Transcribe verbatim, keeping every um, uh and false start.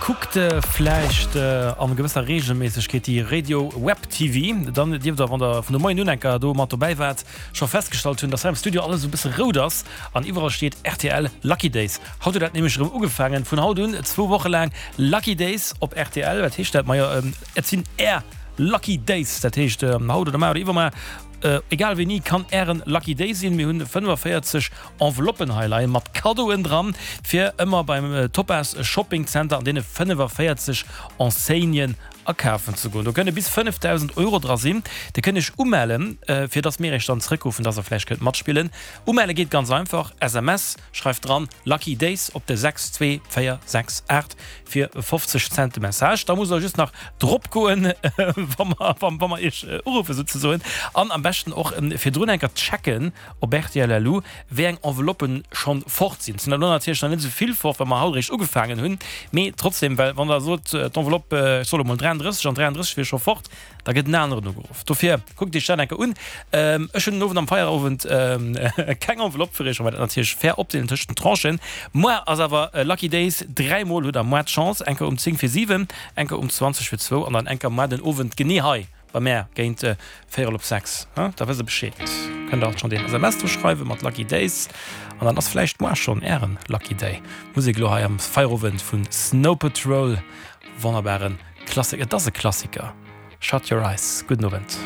Kuckt vläicht an gewësser Reegelméissegkeet déi Radio Web T V, dann dierft der, wann der vun de Moien un enker do mat dobäi waart, scho festgestallt hunn, dass hei am Studio alles esou e bësse rout ass an iwwerall steet R T L Lucky Days. Haut huet dat nämlech erëm ugefaangen, vun haut un zwou Woche laang Lucky Days op R T L. Wat heescht dat? Majo, et sinn är Lucky Days, dat heescht haut oder mar oder iwwermar, egal wéini, kann ären Lucky Day sinn. Mir hunn fënnefaféierzeg Enveloppen hei leien mat Kaddoen dran, fir ëmmer beim Topaz Shopping Center an deene fënnefaféierzeg Enseignen akafen ze goen. Do kënne bis fënnefdausend Euro dra sinn. Dir kënnt iech umellen, fir dass mir iech dann zrëckruffen, dass der vläicht kënnt matspillen. Umelle geet ganz einfach, S M S, schreift dran Lucky Days op de sechs zwee véier sechs aacht fir fofzeg Cent de Message. Da musst der just nach drop goen, wa mer, wa mer iech uruffen souzesoen. An am beschten och virdrun eng Kéier checken op R T L punkt L U, wéi eng Enveloppen schonn fort sinn. Et sinn der elo natierlech nach net esou vill fort, well mer haut eréischt ugefaangen hunn, mee trotzdem, well wann der sot, d'Enveloppe, ech soe lo mol dräiandrësseg an dräiandrësseg wier scho fort, da gëtt en aneren ugeruff. Dofir kuckt iech dat eng Kéier un. Ech hunn den Owend am Feierowend keng Enveloppe fir iech, well mer dat natierlech fair opdeelen tëscht den Tranchen. Muer ass awer Lucky Days, dräi Mol hutt der muer d'Chance, eng Kéier um zéng vir siwen, eng Kéier um zwanzeg vir zwou an dann eng Kéier muer den Owend genee hei bei mär géint véierel op sechs. Da wësst der Bescheed. Kënnt der och schonn den S M S dru schreiwe mat Lucky Days an dann ass vläicht muer schonn ären Lucky Day. Musek elo hei am Feierowend vu Snow Patrol, wonnerbaren Klassiker, et ass e Klassiker, Shut Your Eyes. Gudden Owend.